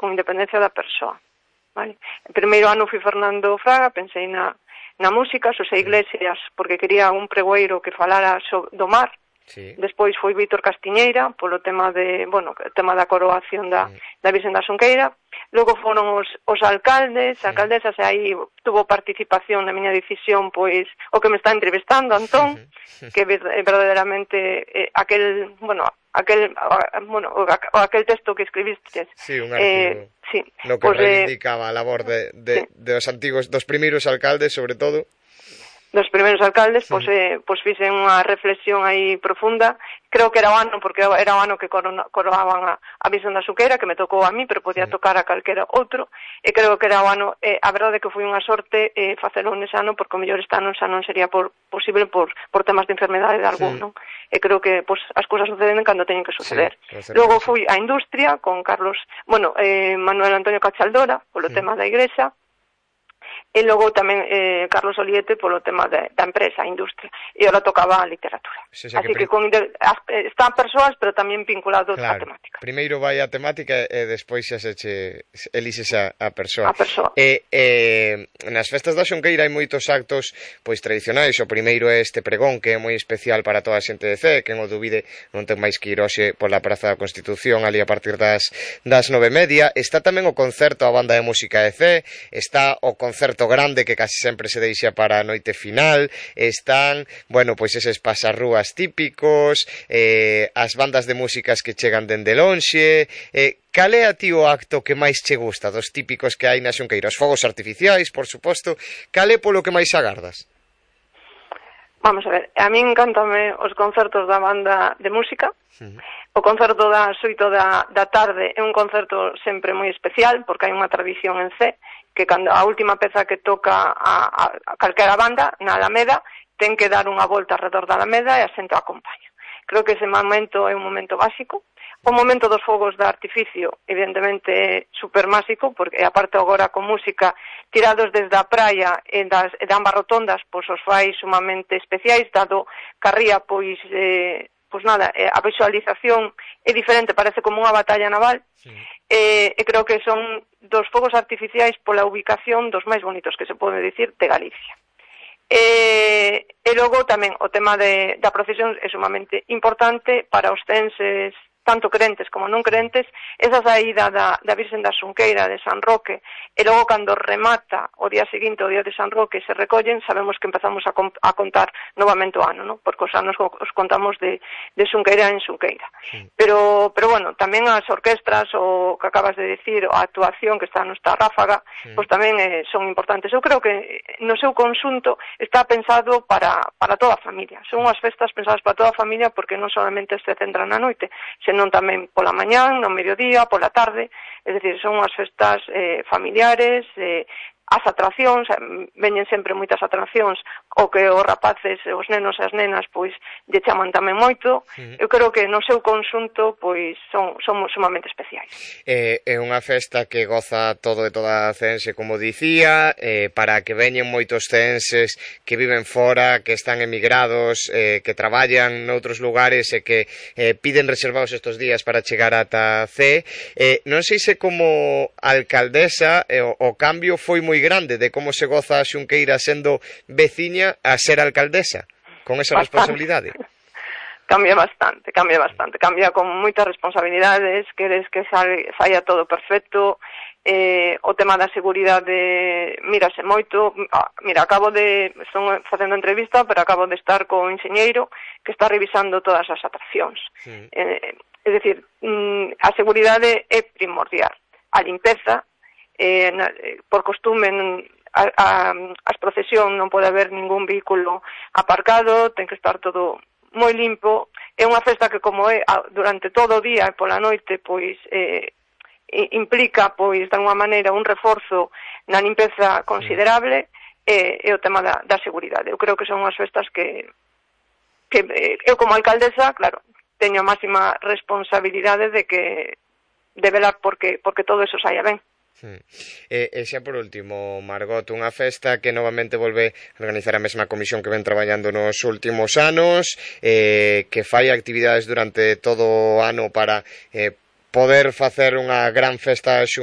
con independencia da persoa, vale? En primeiro ano fui Fernando Fraga, pensei na música, Xosé Iglesias, porque quería un pregoeiro que falara do mar. Sí. Despois foi Vítor Castiñeira polo tema o tema da coroación da Virxen da Xunqueira. Logo foron os alcaldes, alcaldesas, e aí tuvo participación na miña decisión pois o que me está entrevistando, Antón, que verdadeiramente aquel texto que escribiste. Sí, un artigo. No que reivindicaba a labor dos antigos, dos primeiros alcaldes, sobre todo. Dos primeiros alcaldes, pois fixen unha reflexión aí profunda. Creo que era o ano, porque era o ano que coroaban a Virxen da Xunqueira, que me tocou a mí, pero podía tocar a calquera outro, e creo que era o ano, a verdade que foi unha sorte facelo nese ano, porque o mellor este ano xa non sería posible por temas de enfermedade de algún, non? E creo que as cousas suceden cando teñen que suceder. Logo fui á industria con Manuel Antonio Cachaldora, polo tema da igrexa, e logo tamén Carlos Oliete polo tema da empresa, a industria, e ora tocaba a literatura. Así que están persoas, pero tamén vinculados á temática. Primeiro vai a temática e despois xa elixes a persoa. Nas festas da Xunqueira hai moitos actos pois tradicionais. O primeiro é este pregón, que é moi especial para toda a xente de Cee, que en o dubide non ten máis que ir hoxe pola Praza da Constitución, ali a partir das 9:30. Está tamén o concerto a banda de música de Cee, está o concerto grande que casi sempre se deixa para a noite final, están, pois eses pasarrúas típicos, as bandas de músicas que chegan dende lonxe. Cal é a ti o acto que máis che gusta dos típicos que hai na Xunqueira? Os fogos artificiais, por suposto. Cal é polo que máis agardas? Vamos a ver, a mí encántame os concertos da banda de música. O concerto das 8 da tarde é un concerto sempre moi especial, porque hai unha tradición en Cee, que cando a última peza que toca a calquera banda na Alameda ten que dar unha volta alrededor da Alameda e a xente acompaña. Creo que ese momento é un momento básico. O momento dos fogos de artificio, evidentemente, é super máxico, porque aparte agora con música tirados desde a praia e de ambas rotondas, pois os fai sumamente especiais, dado que a ría, a visualización é diferente, parece como unha batalla naval, e creo que son dos fogos artificiais pola ubicación dos máis bonitos que se pode dicir de Galicia. E logo tamén o tema da procesión é sumamente importante para os censes, tanto crentes como non crentes, esa saída da Virxen da Xunqueira de San Roque, e logo cando remata o día seguinte, o día de San Roque, se recollen, sabemos que empezamos a contar novamente o ano, ¿no? Porque os anos os contamos de Xunqueira en Xunqueira. Pero tamén as orquestras, o que acabas de dicir, a actuación que está nuestra ráfaga, pois tamén son importantes. Eu creo que no seu conxunto está pensado para toda a familia. Son unhas festas pensadas para toda a familia, porque non solamente se centran na noite, senón tamén pola mañán, no mediodía, pola tarde, é dicir, son unhas festas familiares, as atraccións, veñen sempre moitas atraccións, o que os rapaces, os nenos e as nenas, pois, lle chaman tamén moito. Eu creo que no seu conxunto, pois, son sumamente especiais. É unha festa que goza todo e toda a ceense, como dicía, para que veñen moitos ceenses que viven fora, que están emigrados, que traballan noutros lugares e que piden reservados estes días para chegar ata Cee. Non sei se como alcaldesa o cambio foi moi grande de como se goza a Xunqueira sendo veciña a ser alcaldesa, con esa responsabilidade. Cambia bastante, cambia con moitas responsabilidades, queres que saia todo perfecto, o tema da seguridade mírase moito. Mira, estou facendo entrevista, pero acabo de estar co enxeñeiro que está revisando todas as atraccións. É dicir, a seguridade é primordial. A limpeza, por costume, as procesións non pode haber ningún vehículo aparcado, ten que estar todo moi limpo. É unha festa que, como é durante todo o día e pola noite, pois implica, pois, de alguma maneira, un reforzo na limpeza considerable, e o tema da seguridade. Eu creo que son unhas festas que eu, como alcaldesa, claro, teño a máxima responsabilidade de velar porque todo eso saia ben. E xa por último, Margot, unha festa que novamente volve a organizar a mesma comisión que ven traballando nos últimos anos, que fai actividades durante todo o ano para poder facer unha gran festa